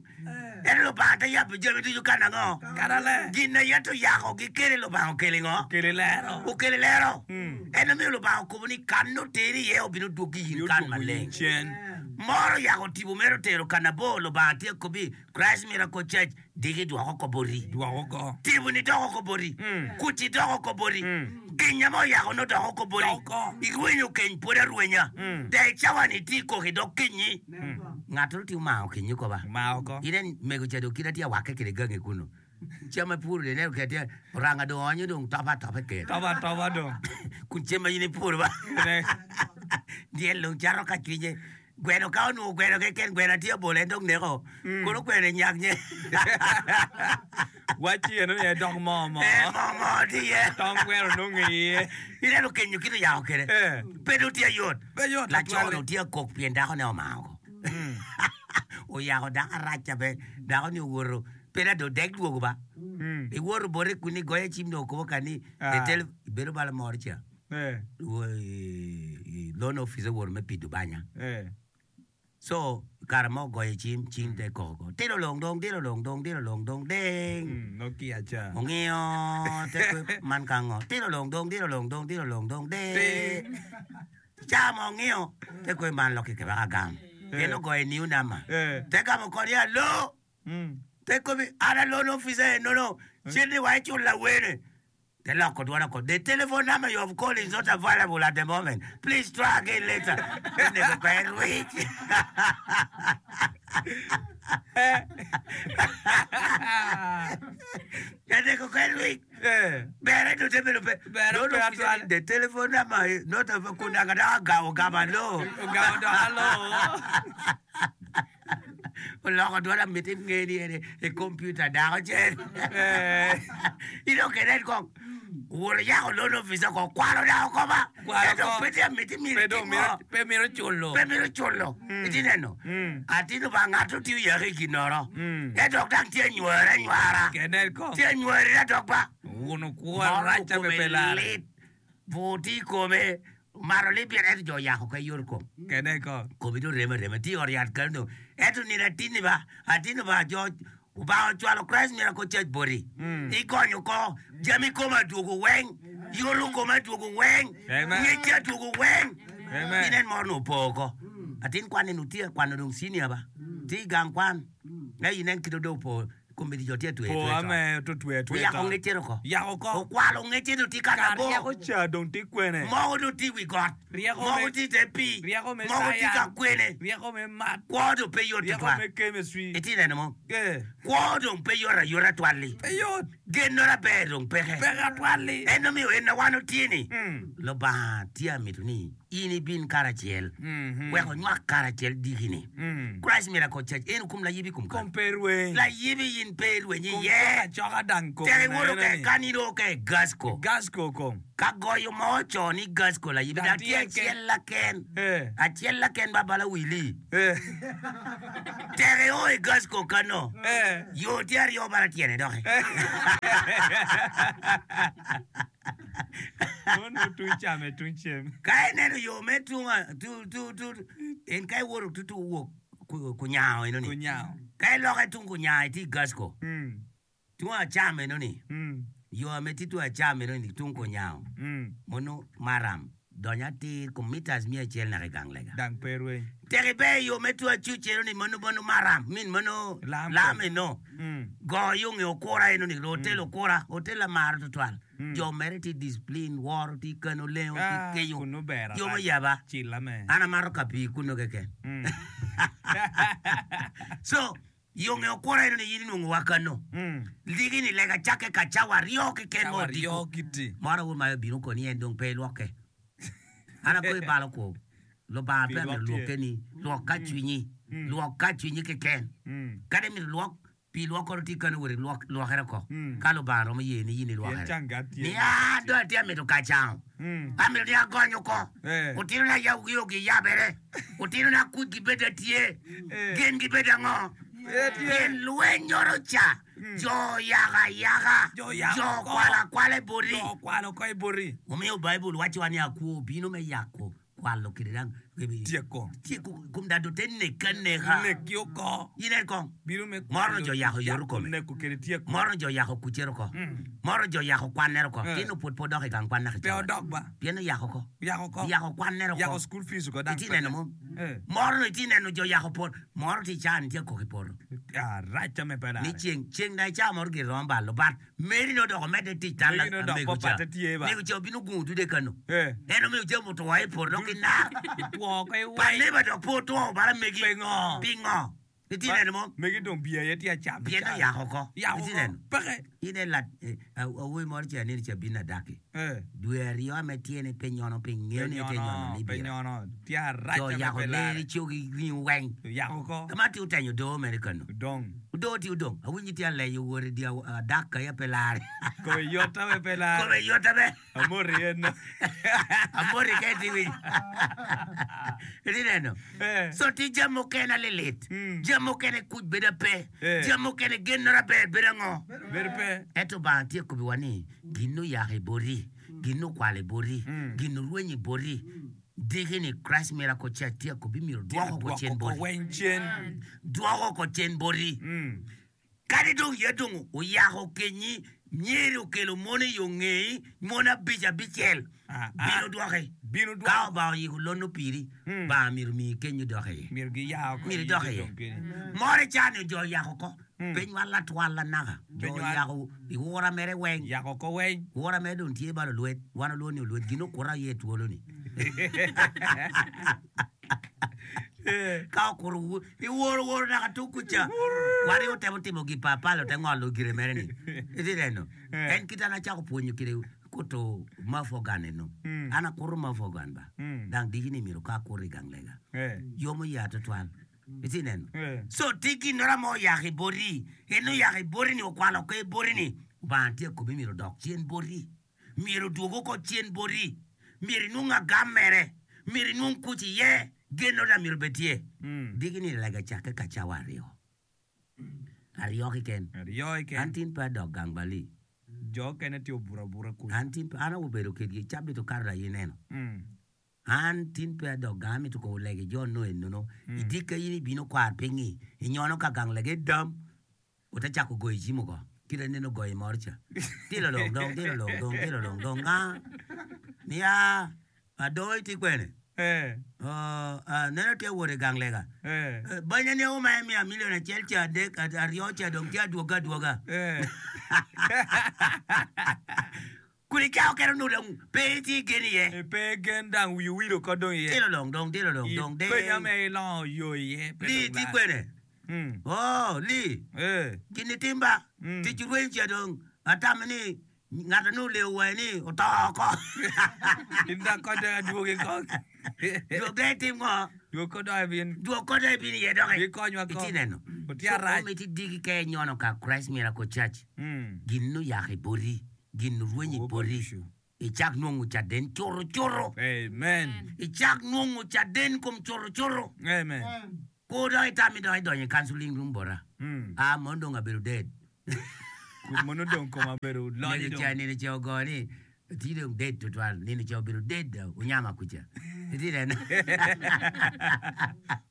En Lubanga te yabo jami ducu kan ango? Karale. Gin aye to yako gikele Lubanga okele ngo? Okele lero. Okele lero. Mm. En omiyo Lubanga okobo ni kan noteri iye obino dwogi in kan maleng. Cen. Moro yako tipo mere otero kan abor Lubanga tye kobi Christ Miracle Church diki dwoko ko boti. Dwoko ko. Tipo ni doko ko boti. Mm. Kuci doko ko boti. Mm. Kenya mo yako no doko ko boti. Doko. Irwenyo keny pod arwenya. Mm. De cawa ni ti koki dok kinyi. Ng'ato ti omako kinyi ko ba. Mao ko. Inen mego ca dong kite tye awakke kede gangi kuno. Cam ma ipuro de ineno kede tye oranga dong oonyo dong topo atopa i ker. Topo atopa dong. Kun cem ma in ipuro ba. Ne. Dyel dong cato ka cwinye. Gweno ka onwongo gweno keken gweno tye obolo en dong neko. Kono gweno enyak nye. Waci eno ni dok moo moo. Eh, moo moo tye iye. Tong gweno nongo iye. Ineno kenyo kite oyako kede. Eh. Pe dong tye yot. Pe yot Laco tutwal. dong tye kok pien dakone omako. Oyako dako arac be dako ni owoto pe da dong dek dwogo ba. Mm. Iwoto bote kun igoyo cim dong okobo ka ni Ah. etel bedo bala moro ca. Eh. Wo- i- i- loan office owoto me pido banya. Eh. So kare mo ogoyo cim cim te koko. Tilo long dong tilo long dong tilo long dong ding. Mm, Nokia ca. Ongio te kwe man ka ngo. Tilo long dong tilo long dong tilo long dong ding. Ding. Ca mo ongio te kwe man loki kebaka gam. En ogoyo new number. Eh. Te gamo kodi alo. Mm. Te kobi ana loan officer no no. Cende wa ichula wene. Te loko dwona ko. The telephone number you have called is not available at the moment. Please try again later. Nego ka en wich. Nego ka en wich. Eh. Bere to te bedo pe. Bere Loan pe officer, atwal. The telephone number is not available. Kunanga da gawo gama lo. Ogamo dok alo. Oloko dwona miti ngeni ene e computer dako cen. Eh. Ino kenen kong. Wuoro yako loan officer ko kwalo dako koba. Kwalo Ento ko. pe tye miti miro Pe dong timo. miro pe miro culo. Pe miro culo. Iti neno. Mm. Atino ba ng'ato tiyo yaki i ginoro. Mm. E dok dang tye nywere anywara. Kenen ko. Tye nywere da dok ba. Wuno kwo Moro rac ame kome pe lare. lit. Bur tye i kome. Omaro lit pien ento jo oyako ka yor kom. Kenen ko. Komi dong remo arema tye i ot yat kano dong. Ento nino atini ba, atini ba jo Obanga ocwalo Christ Miracle Church boti. Igonyo ko jami koma adwogo weng, yoto koma adwogo weng, ngecce adwogo weng. Inen moro nongo opo oko. Atin kwan eni tye ka kwano dong senior ba. Tye i gang kwan. Ento inen kit dong opo komiti jo tye atweyo Po atweya ame con. to tweyo atweya Oyako con. ngecce oko. Yako oko. Okwalo ngecce dong tye ka Kar nabo. ryeko ca dong tye kwene. Moko dong tye i wi got. Ryeko Moko me tye i te pii. ryeko me Moko tye ka science. kwene. Ryeko me math. Kwo dong pe yot Ryeko tutwal. me chemistry. Itye neno mo? Eh. Kwo dong pe yot ayota twal-li. Pe yot. Gennora ber dong peke. Peke atwal-li. En omiyo en ma wan otye-ni, Mm. Lubanga tye amito ni in ibin karacel, Mhm. wek onywak karacel diki-ni. Mm. Christ Miracle Church en okum layibi i kom Kom kany. pe rweny. Layibi in pe irweny Kom iye. coka acoka dang kom Tek iwoto ene ke ni. kan in o ke Gasco. Gasco kom. Ka goyo mo oco ni Gasco layibi Dang dang tye tye ke. acel laken. Eh. Acel laken ba bala wili. Eh. Tek io i Gasco kano. Eh. Yo tye aryo bala tyene doki. Mono tung came tung cem. Ka ineno yo me tunga tu tu tu en ka iwoto tu tu wok ku- kunyango eno ni. Kunyango. Ka iloke tung kunyango iti Gasco. Mm. Tung acam eno ni. Mm. Yo ame ti tung acam eno ni tung kunyango. Mm. Mono maram donyo atir kum meters miya acel naka i gang lega. Dang pe rweny. Tek ibe yo me tung acuc eno ni mono mono maram min mono Lam lam kom. eno. Mm. Go yung i okura eno ni hotel okura hotel amaro tutwal. Jo mere ti discipline woro ti kano lengo ti Ah, keyo. kunu ber Yo mo arac. yaba. Cilla me. An amaro ka pii kuno keken. Mm. So yung i okura eno ni in inwongo wa kano. Mm. Ligi ni lega cakke ka cawa aryo keken mo Cawa odiko. aryo kiti. Moro wun ma obino koni en dong pe ilwokke. An ako ibalo ko. Lubanga Pi pe amito lwok tye. lwokke ni lwok ka cwinyi. Lwok ka cwinyi keken. Mm. Kadi mito lwok pi lwok kono tye kano wot ilwok lwokere oko. Mm. Ka Lubanga romo ye ni in Pien ilwokere. canga tye. Ni a dong atye amito ka cango. Mm. Amito ni agonyo ko. Eh. Otino na yaw gi giyabere. Otino na kuc gibed atye. Eh. Gin gibed ango? Eh, tye. Pien lweny oro ca. Jo yako ayaka. Jo yako Jo oko. kwalo akwala i boti. Jo kwalo ko i boti. Omiyo Baibul wacowa ni akwo obino me yako kwalo kede dang Tyeko. tyeko kom dano te nek aneka. Neki oko. Inen kong. Bino me Moro jo yako yoto kome. Neko kede tyeko. Moro jo yako kucere oko. Mm. Moro jo yako kwannere oko. Eh. Tin oput pe odok i gang kwan naka Pe cawa. odok ba. Pien oyako oko. Yako ko. Yako kwannere Yako oko. school fees oko dang. Iti neno mo. Eh. Moro no iti neno jo yako poto. Moro ti can tye kok i poto. Ah, rac ame pe Ni lare. ceng ceng na ica moro gir romo balo bat meri no doko medde tic tal Meri no dok amego pa ca. patte tye ba. Mego ca obino gungo dude kano. Eh. En omiyo jami otwo i poto dok ki nar. Two ko i Pa weng. neba dok pe otwo bara megi. Pingo? Pingo? Iti neno mo. Megi dong biye aye tye acam. Pien oyako oko. Yako Iti oko. neno. Peke. Ine lat eh, awobi moro ca nino ca bino adaki. Eh. Dwe aryo ame tyene pe nyono piny ngeo Pe ni te nyono nyono. ni Pe bira. nyono. Tye arac Jo ame yako pe leri lare. cogi ringo weng. Yako ko. Kama ti otenyo doo mere kano. Dong. Odoo ti odong. Awinji ti aleyo wore di adak ka ya pe lare. Kome yota me pe lare. Kome yota be. Amori en. Amori ka iti winyo. Iti neno. Eh. So ti jami mukene alilit. Mm. Jami mukene kuc bedo pe. Eh. Jami mukene gennora ber bedo ango. Bedo pe. Ento Lubanga tye kobiwa ni gin oyako i boti, gin okwalo i boti, Mm. gin orwenyo i boti. Diki ni Christ Miracle Church tye kobi myero dwoko ko cen Dwoko ko boti. weng cen. Dwoko ko cen boti. Mm. Kadi dong ye dong oyako kenyi, nyeri okelo mon i yo ngei, mon abic abicel. Ah, ah. Bino dwoki. Bino Ka dwoko. Obanga oyiko lono piri, Mm. Banga myero mii kenyo dok iye. Myero giyao ko. Myero idok iye. Dong keni. Moro cani jo oyako ko. Mm. Pe nywal atwal anaka. Jo Pe nywal. oyako iwura mere weng. Yako ko weng. Wora mere dong tye balo lwet. Wan olwon ni olwet. Gin okura ye twolo ni. Eh. Ka okuro wu- iworo woro naka tung kuca. Wari otemo timo gi papal ote ngolo gire mere ni. Iti neno. Eh. En kit an acako pwonyo kede kuto mouth organ eno. Mm. An akuro mouth organ ba. Mm. Dang diki ni myero ka akuro i gang lega. Eh. Yomo ya tutwal. Iti neno. Eh. So ti ginora mo oyako i boti. En oyako i boti ni okwalo oko i boti ni. Obanga tye kobi myero odok cen boti. Myero odwog oko cen boti. Myero inwong agam mere. Myero inwong kuc iye. Gennora myero obed tye. Mm. Diki ni lega cakke ka cawa aryo. Aryo keken. Aryo An keken. tin pe adok gang bali. Jo kene tye obuto abuta kuc. An tin pe an obedo kedgi cabit okato aye ineno. Mm. An tin pe adok gang amito ko olegi jo no enono. Idika in ibino kwar pinyi. Inyono ka gang lege dam. Ote cako goyo cim oko, kit aneno ogoyo i moro ca. Tilo long dong, tilo long dong, tilo long dong, nga? Nia, adoo itye kwene? Eh. Oh, ah, neno tye awot i gang lega. Eh. Eh, banya ni auma en miya milion acel ca adek, ad- aryo ca dong tye adwoga adwoga. Eh. Kun icako kene onongo dong pe itye ki gen iye. Eh, pe gen dang wiyi owil oko dong iye. Tilo long dong, tilo long dong, ding. Penya me ilongo yo iye pe Li dong tye lar. kwene? Mm. Oh, li. Eh. Gin itim ba? Mm. Tic rweny ca dong atamo ni ngat a nongo olewo wange ni oto oko. In dok kod dong adwogi kong. Dwog dong itim ngo? Dwog kod dong ibin. Dwog kod dong ibin iye doki. Bikonywa kong. Itye neno? Otye arac. So, omiti digi ka inyono ka Christ Miracle Church, Mm. gin nuyako i boti, gin orwenyo i Obo boti, ducu. icak nongo caden curu curu. Amen. Icak nongo caden kom curu curu. Amen. Kur dong itami dong idonyo i counseling room bota. Mm. Ah, mono dong abedo dead. Kun mono dong koma obedo lonyo Nino dong. ca, nino ca ogo ni, tye dong dead tutwal. Nino ca obedo dead, onyama kuca. Itye neno?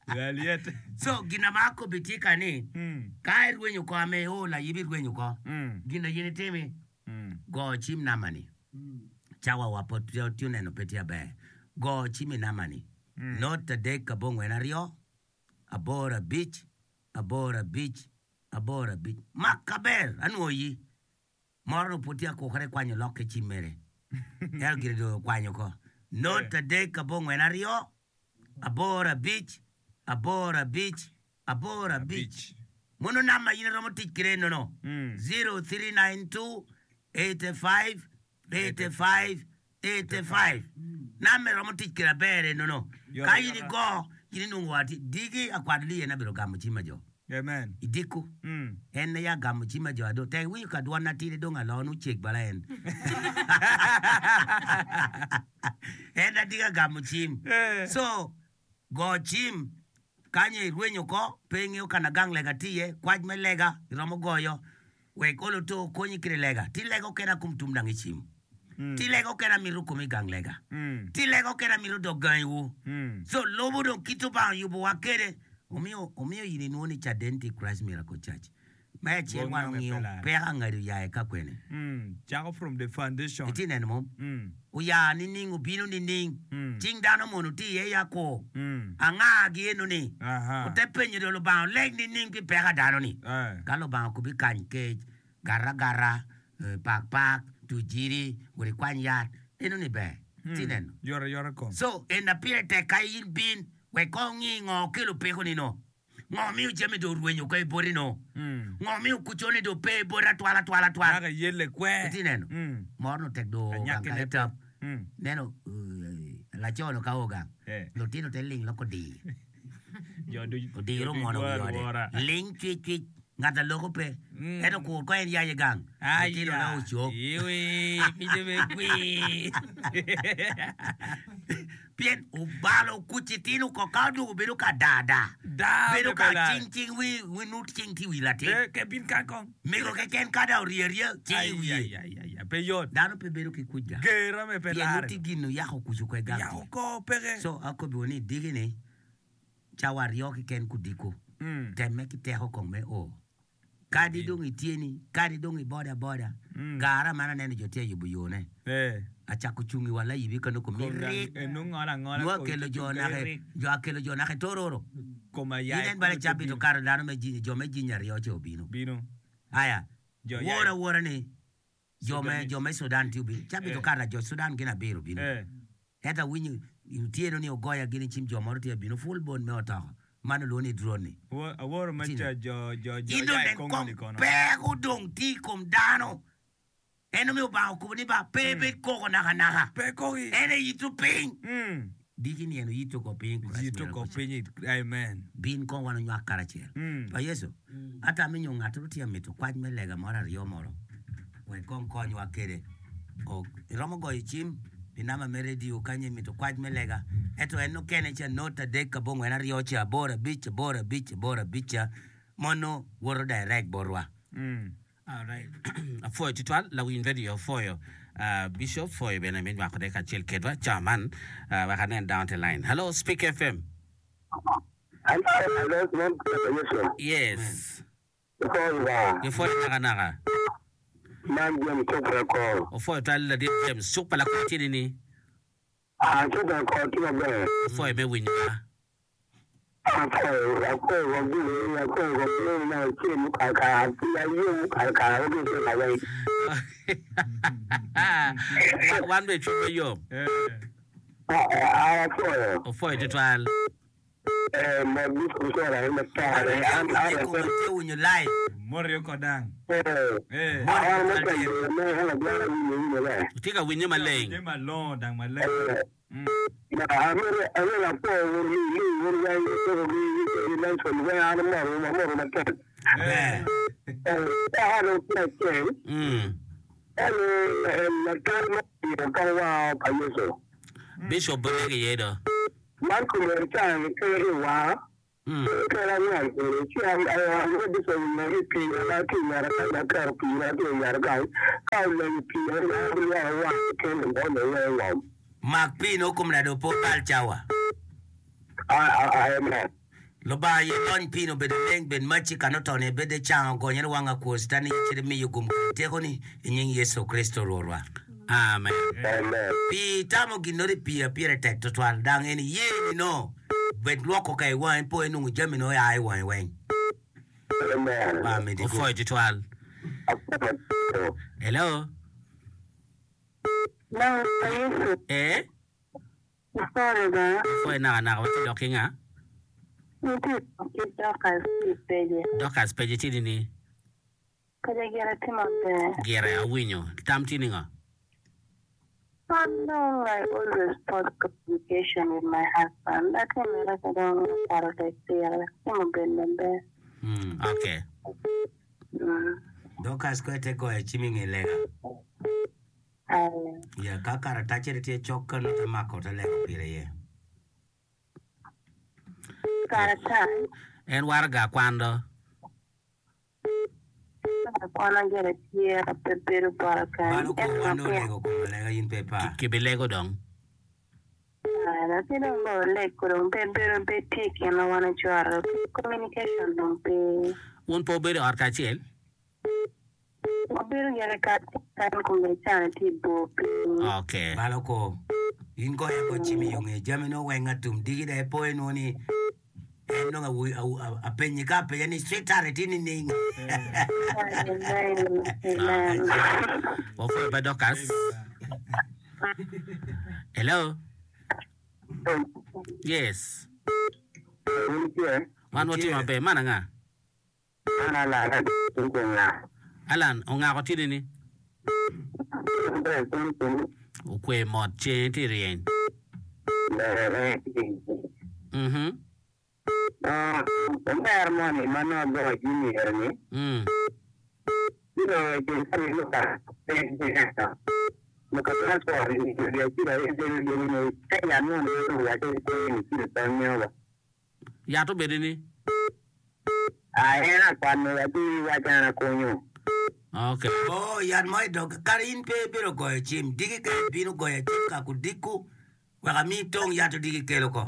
Lalyet. So, gin ma akobi tye ka ni, Mm. ka irwenyo oko ame o layibi irwenyo oko, Mm. gin na in itimi, Mm. go cim namba ni. Cawa wa pod tye tye neno pe tye aber. Go cim i namba ni. Not adek abongwen aryo, aboro abic, aboro abic, aboro abic. Mak aber, anwoyi. Moro no pud tye akukere kwanyo lok ki cim mere. Ento gire dong okwanyo ko. Not adek abongwen aryo, aboro abic, aboro abic, aboro abic. Abic. Mono namba in iromo tic kede nono. Mm. zero three nine two eighty-five eighty-five eighty-five. Namba iromo tic kede aber enono. Yoro, Ka in yoro. igo, in inwongo wa ti digi akwat li en abedo gamo cim ajo. Amen. Idiko. Mm. En aye agamo cim ajo ado. Tek iwinyo ka dwon atidi dong alo nu cek bala en. En adigi agamo cim. Eh. So, go cim, kanyo irwenyo ko, pe ingeo kana gang lega tye iye, kwac me lega, iromo goyo, wek olo to okonyi kede lega. Ti lega okene akum tum dang icim. Mm. Ti lega okene amito komi gang lega. Mm. Ti lega okene amito dok gangiwu. Mm. So, lobo dong kit Obanga oyubowa kede, omiyo, omiyo in inwongo ni caden ti Christ Miracle Church. Me acel Bong wan nonge ongiyo pe lar. peko angado oya ka kwene. Mm. Cako from the foundation. Itye neno mo? Mm. Oya nining, obino nining. Mm. Cing dano mono tye iye ya ko. Mm. Anga gi eno ni. Aha. Ote penyo do Lubanga oleg nining pi peko dano ni. Eh. Ka Lubanga okubi kany kec, gara gara, eh, pak pak, tujiri, wot ikwany yat. Eno ni ber. Tye neno. Yoro yoro kom. So, en na pire tek ka in bin, wek kong ngi ngo kelo peko ni no. Ngo miyo jami do orwenyo ko i boti no. Mm. Ngo miyo kuco ni do pe i boti atwal atwal atwal. Naka yelle kwe. Itye neno? Mm. Moro no tek do Anyaki gang ka ne itap. Mm. Neno, eh, laco no ka o gang. Eh. Lutino te ling loko dir. Jo du- Odiro jo du mono dwaro wi ode. wora. Ling cwic cwic. Ngat aloko pe. Mm. Ento kur ko en yaye gang. Lutino Aya. na ocok. Iwi, pinje me kwi. Pien obalo kuc itino ko ka odwogo bedo ka da da. Da Bedo me ka pe lar. cing cing wi wi nut cing ti wi latin. Eh, ke bin kan kong. Mego keken kada orye arye cing i Ai, wiye. ai, ai, ai, ai, pe yot. Dano pe bedo ki kuc ga. Gera me pe Pien lar. nut gin oyako kuc oko i gang. Yako ko peke. So akobo ni digi ni cawa aryo keken kudiko. Mm. Temme ki teko kong me o. Kadi dong ityeni, kadi dong i boda boda. Mm. Gara man aneno jo tye yubo yone. Eh. Acako cungi wa layibi kano komi Kom dang- rik. eh, nung ngola ngola Nwa ko kelo itu jo kere nake, rik. jo akelo jo nake tororo. Koma yae Inen bale kono cabi te to karo dano me jinyi, jo me jinyi aryo che obino. Bino. Aya, Jo wora yae. wora ni, jo me, Sudanese. jo me Sudan ti obino. Cabi to Eh. karo jo Sudan gin abiro bino. Eh. Ento awinyo, otieno ni ogoya gini cim jo moro tye bino, full bone me otoko. Mano luongo ni drone ni. Wo- Aworo ma Tino. cha jo jo jo In dong yae nen Kongo kong ni kono. peko dong tye i kom dano. En omiyo Obanga okobo ni ba pe bed koko nakanaka. Pe koki. En eyito piny. Mm. Diki ni en oyito ko piny. Christ Yito miracle ko Church. piny. Amen. Bin kong wan onywak karacel. Mm. Pa Yecu, ata minyo ng'ato tye mito kwac me lega moro aryo moro. Wek kong konywa kede. Ok, iromo goyo cim i namba me radio kanyo imito kwac me lega. Ento en okene ca not adek abongwen aryo ca aboro abic aboro abic aboro abic ca mono woto direct botwa. Mm. Alright. Apwoyo tutwal lawiny radio apwoyo uh, Bishop pwoyo bene me nywako de kacel kedwa ca man uh, wek anen down the line. Hello Speak F M. Hello, hello, Yesu. Yes. Gipwoyo nakanaka. Man James cuk pa lakor. Opwoyo twal ladit James. Cuk pa lakor tye nini? Ah, cuk pa lakor tye maber. Opwoyo me winyowa. Apwoyo, apwoyo kom gini, apwoyo kom gini na cem kare kare, ayom kare kare, oke cem aweng. Wan bene cwinywa yom. Ah, ah, apwoyo. Opwoyo tutwal. Eh, mot Bishop Sora en matek. An, an, Tye kome tye winyo live. Morio kodang. eh, Eh. an matek, me en adwaro winyo winyo le. Tye ka winyo maleng. Tye malongo dang maleng. Eh, Mm. na amiro amiro apwoyo wun mi mi wun weng coko gi gi Nelson weng an amoro amoro matek. Ber. Eh, an tye acel. Mm. En latin ma omiyo ka waa pa Yecu. Bishop bolege iye do. Man komere caa ker i waa, Mm. ker angwen kede, ci an Bishop oleng i pii na tye i ngete kany, aketo pii na tye i ngete kany, ka oleng i pii en lwoko waa keken oonyo iye i ngom. Mak pii no kom nade opo bal cawa. Ah, ah, amen. Lubanga ye lony pii no bedo leng bed maci ka notone bede cango gonyere wang akwo sitani cito miyo gum kede tekoni i nying Yecu Kristo Rwotwa. Amen. Amen. Pii tamo gin nori pii apire tek tutwal dang en ye ni no bed lwoko ka i wangi po inongo jami no oa i wangi weng. Amen. Ba medi gum. Opwoyo tutwal. Apwoyo. Hello. Lang pa Yecu, Eh? ipore ba, Opwoyo nakanaka watye dok ki nga? nitie ki Dorcas i peje. Dorcas peje tye nini? Peje gire tye maber. Gire awinyo. Tam tye ningo? I know I always fought communication with my husband. Ate mere ka dong paro tek pire, timo bed maber. Mm. Okay. Mm. Dorcas ko te goyo cim i nge lega. Aye. Ya ka karatacere tye cok ka no te mako te lego pire iye. Karatac, En waraga kwan do. kwana gire tye pe bedo bota kany. Mano ko Ento wan pia- olego kom alega in pe pa. Kibilego dong. Latin dong bo oleg ko dong pe bedo pe tye i kine wan ocwaro. Communication dong pe. Wun pe wubedo i ot kacel? Wabedo gire kacel kany kome cani tye i bor piny. Okay. Malo ko in goya ko cim i yo nge jami no weng atum digi da ipo inwo ni en nongo awu- awu- awu- apenyi ka apenya ni sweetheart tye nining. Amen. Amen. Wapwoyo ba Dorcas. Hello. Yes. Wun tye? Wan watye maber. Man anga? An alana tye nga. Alan, ongako tye nini? Ber, kun kun. Okwe mot ceng tye ryeny. Ber, eh. Mhm. Ah, omer moni ma nongo goyo cim ire ni, Mm. bino ceng ka ni luka, luka transport ni ya cira ye jeni jeni ni ka ya no ni to ya ke ko ni cira ta nyo ba. Yat obedo ni? Ah, en akwan ya ti wa chana konyo. Okay. Oh, yat mo i dog kare in pe ibino goyo cim digi ka ibino goyo cim ka kudiku wek ami tong yat odigi kelo ko.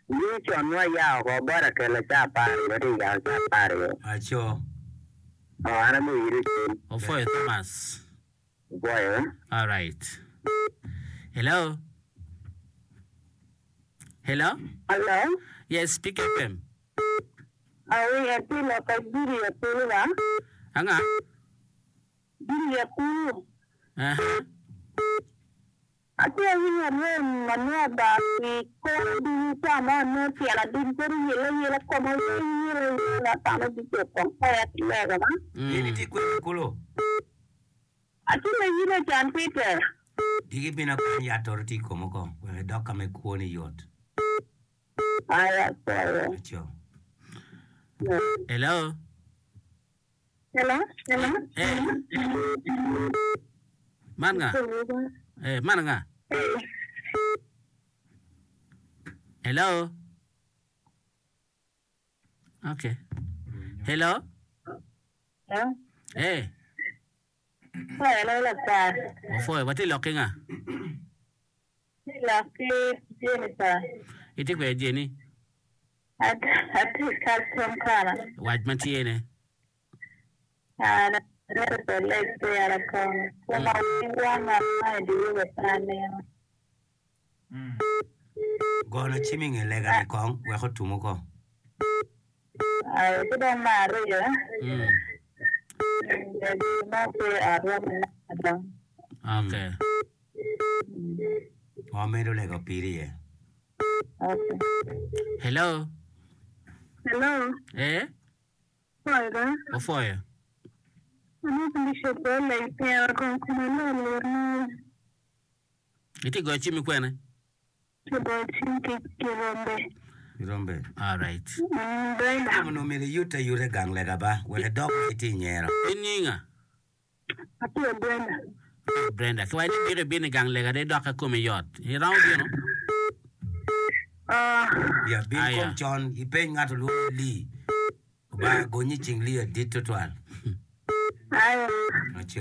Ni chon wa ya ko bora kelo cha par yo ti ya cha par yo. Aco. Oh, ana mo ire cim. Opwoyo Thomas. Boy, All right. Hello. Hello. Hello. Yes, speak F M. Awi atye loko jiri akulu ba? Anga? Jiri akulu. Aha. Atye awinyo anwen manua ba ki kor ducu ca mo anongo tyena ducu bedo yelo yelo koma weng yelo yelo atamo Bishop kong oya ki lego ba. In Mm. itye kwede kulu. Atye layine John Peter. Digi bino kany yat oro tye i komo ko wek idok ka me kwoni yot. Aya, sorry. Aco. Hello. Hello? Hello? Eh. Man nga? Eh, man nga? Hello. Okay. Hello. Hello? Eh, Hello, laktar. opwoyo watye lok ki nga? Lok ki Jennifer. Itye kwede Jenny? Atye Kampala. Wac ma tye ne. Gono cim i nge lega-ni kong wek otum oko. Mm. Okay. Wamedo lego piri iye. Hello. Hello, Eh? Ofoyo. Ofoyo. Amito Bishop oleg pira kong kuma lor lor na Iti goyo cim i kwene? kibo cim ki kirombe. Irombe. All right. Mm, Brenda. Onongo myero iyute ayuta i gang lega ba wek idok itye i nyero. In nyinga? Atye Brenda. Brenda. Kiwaco ni biko ibino i gang lega de idok ka komi yot. Iromo bino? Ah, Ya bin Aya. kom con ipeny ngat olwongo ni Lee. Obanga gonyi i cing Lee adit tutwal. ayo. Aco.